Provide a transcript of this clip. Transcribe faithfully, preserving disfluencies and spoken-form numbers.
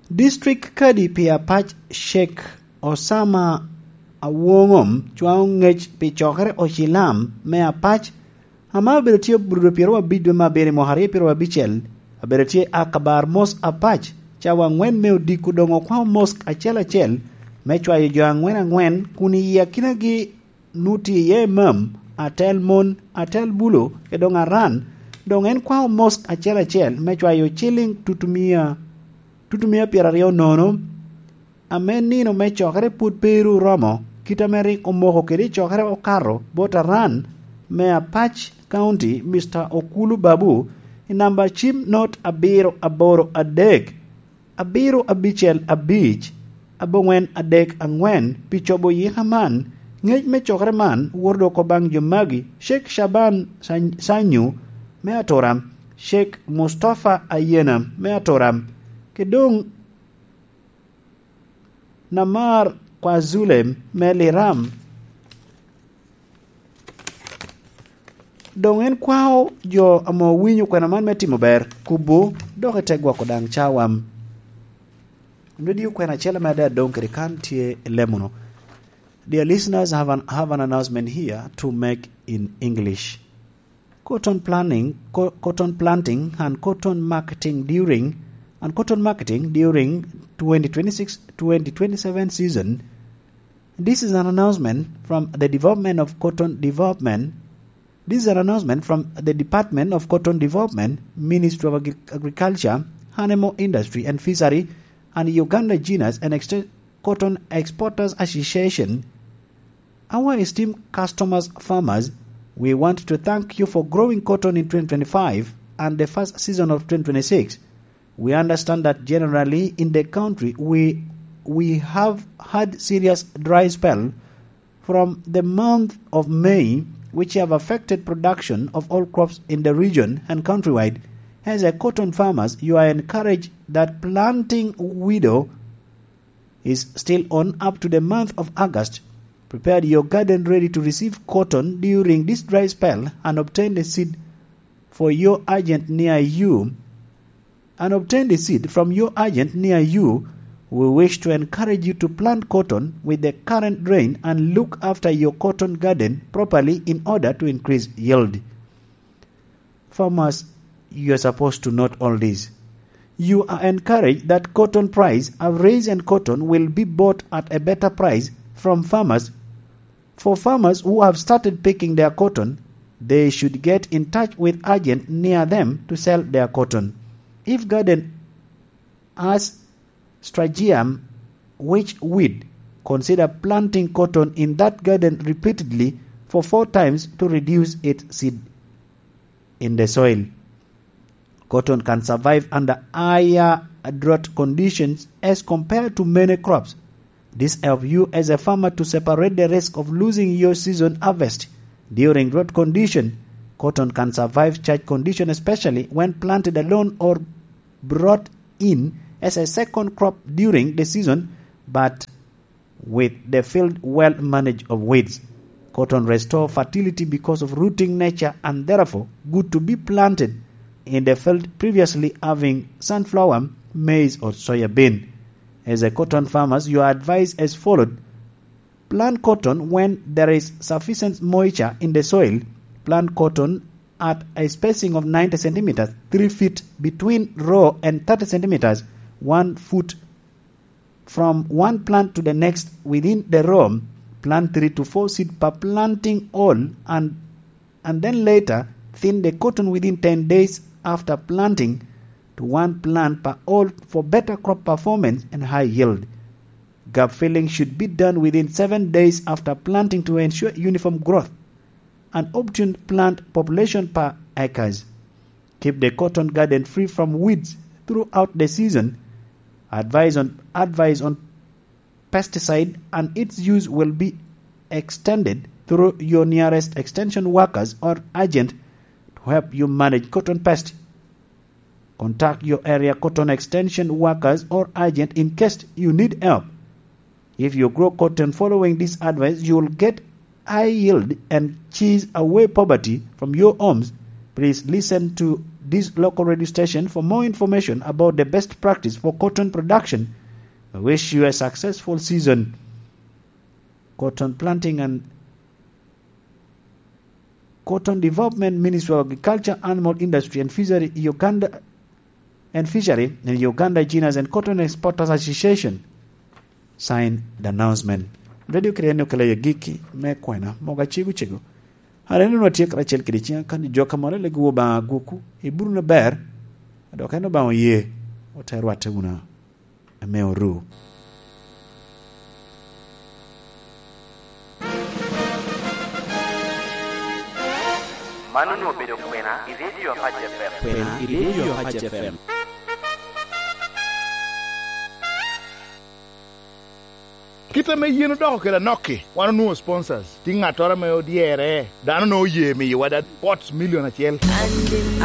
District kadi pi apac Sheikh Osama Awongom cwao ngec pi cokere ocilam me apac ame obedo tye Aburudo pyeraryo abic dwe me abiro i mwaka aryo pyeraryo abicel, abedo tye Akabar Mosque apac cawa angwen me odiko doŋ okwao mosque acel acel me cwayo jo angwen angwen kun i akinagi nu tye iye imam, atel mon, atel bulo, kede doŋ aran. Doŋ en kwao mosque acel acel me cwayo ciliŋ tutumia tutumia pyeraryo nono. Ame nino me cokere pwod pe ru oromo, kit ame rik omoko kede i cokere okato bot aran me Apac County, Mister Okulu Babu, i namba cim not abiro aboro adek, abiro abicel abic, abongwen adek angwen, pi cobo yika man. Ngec me cokere man woto dok obaŋ jo magi: Sheikh Shaban Sany- Sanyu me Aturam, Sheikh Mustafa Ayena me Aturam, ke doŋ Namar Kwazule me Liram. Doŋ en kwao jo ame owinyo kwena man me timo ber, kubo, dok i te gwoko daŋ cawam. Nodi okwena acel ame adada doŋ kede kan tye i lemono. Dear listeners, have an, have an announcement here to make in English. Cotton planting, co- cotton planting and cotton marketing during and cotton marketing during twenty twenty-six twenty twenty-seven season. This is an announcement from the Development of Cotton Development. This is an announcement from the Department of Cotton Development, Ministry of Agri- Agriculture, Animal Industry and Fishery, and Uganda Genus and Ex- Cotton Exporters Association. Our esteemed customers, farmers, we want to thank you for growing cotton in twenty twenty-five and the first season of twenty twenty-six. We understand that generally in the country we we have had serious dry spell from the month of May, which have affected production of all crops in the region and countrywide. As a cotton farmers, you are encouraged that planting window is still on up to the month of August. Prepare your garden ready to receive cotton during this dry spell and obtain the seed for your agent near you. And obtain the seed from your agent near you. We wish to encourage you to plant cotton with the current rain and look after your cotton garden properly in order to increase yield. Farmers, you are supposed to note all this. You are encouraged that cotton price have raised and cotton will be bought at a better price from farmers. For farmers who have started picking their cotton, they should get in touch with agent near them to sell their cotton. If garden has stragium, which weed, consider planting cotton in that garden repeatedly for four times to reduce its seed in the soil. Cotton can survive under higher drought conditions as compared to many crops. This helps you as a farmer to separate the risk of losing your season harvest during drought condition. Cotton can survive such condition, especially when planted alone or brought in as a second crop during the season, but with the field well managed of weeds. Cotton restore fertility because of rooting nature and therefore good to be planted in the field previously having sunflower, maize or soya bean. As a cotton farmers, you are advised as followed. Plant cotton when there is sufficient moisture in the soil. Plant cotton at a spacing of ninety centimeters, three feet between row and thirty centimeters, one foot from one plant to the next within the row. Plant three to four seed per planting hole and, and then later thin the cotton within ten days after planting to one plant per hole for better crop performance and high yield. Gap filling should be done within seven days after planting to ensure uniform growth and optimum plant population per acres. Keep the cotton garden free from weeds throughout the season. Advice on advice on pesticide and its use will be extended through your nearest extension workers or agent to help you manage cotton pest. Contact your area cotton extension workers or agent in case you need help. If you grow cotton following this advice, you will get high yield and chase away poverty from your homes. Please listen to this local radio station for more information about the best practice for cotton production. I wish you a successful season. Cotton planting and Cotton Development, Ministry of Agriculture, Animal Industry and Fishery, Uganda, and Fishery in Uganda, Genus and Cotton Exporters Association. Sign the announcement. Radio kede en okelo i agikki me kwena mogo acego cego. Aneno ni watye karacel kede ciŋ akany jo ka moro lego Obaŋa agwokwu, iburu na ber, dok en Obaŋa oye, ote rwatte wunu ame oru. Man onwoŋo obedo kwena i Radio Apac F M. Kwena i Radio Apac F M. Kit ame yen odoko kede anok-ki, wan onwoŋo sponsors. Tye ŋattoro ame odyere, dano onwoŋo oye miyowa da pots milion acel.